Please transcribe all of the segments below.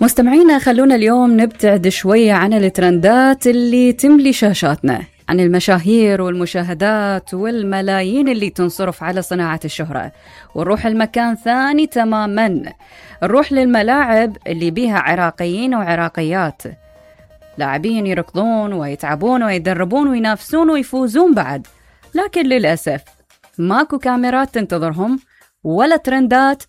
مستمعينا، خلونا اليوم نبتعد شوية عن الترندات اللي تملي شاشاتنا، عن المشاهير والمشاهدات والملايين اللي تنصرف على صناعة الشهرة، ونروح المكان ثاني تماما. نروح للملاعب اللي بيها عراقيين وعراقيات، لاعبين يركضون ويتعبون ويدربون وينافسون ويفوزون بعد، لكن للأسف ماكو كاميرات تنتظرهم، ولا ترندات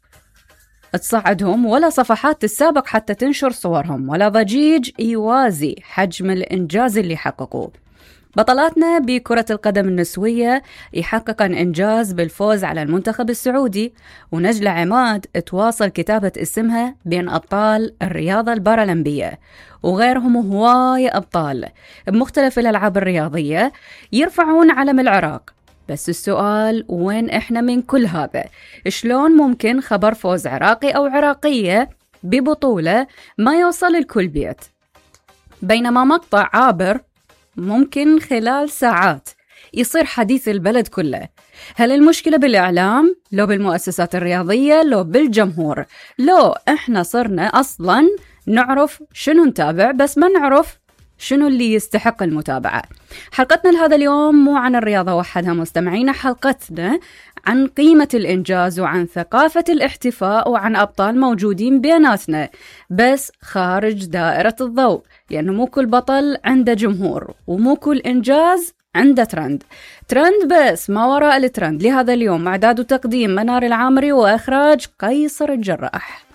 تصعدهم، ولا صفحات تسابق حتى تنشر صورهم، ولا ضجيج يوازي حجم الإنجاز اللي حققوه. بطلاتنا بكرة القدم النسوية يحققن إنجاز بالفوز على المنتخب السعودي، ونجلة عماد تواصل كتابة اسمها بين أبطال الرياضة البارالمبية، وغيرهم هواي أبطال بمختلف الألعاب الرياضية يرفعون علم العراق. بس السؤال، وين إحنا من كل هذا؟ شلون ممكن خبر فوز عراقي أو عراقية ببطولة ما يوصل لكل بيت، بينما مقطع عابر ممكن خلال ساعات يصير حديث البلد كله؟ هل المشكلة بالإعلام؟ لو بالمؤسسات الرياضية؟ لو بالجمهور؟ لو إحنا صرنا أصلاً نعرف شنو نتابع بس ما نعرف شنو اللي يستحق المتابعة؟ حلقتنا لهذا اليوم مو عن الرياضة وحدها مستمعينا، حلقتنا عن قيمة الإنجاز وعن ثقافة الاحتفاء وعن أبطال موجودين بيناتنا بس خارج دائرة الضوء، لأنه مو كل بطل عنده جمهور، ومو كل إنجاز عنده ترند بس ما وراء الترند. لهذا اليوم إعداد وتقديم منار العامري، وإخراج قيصر الجراح.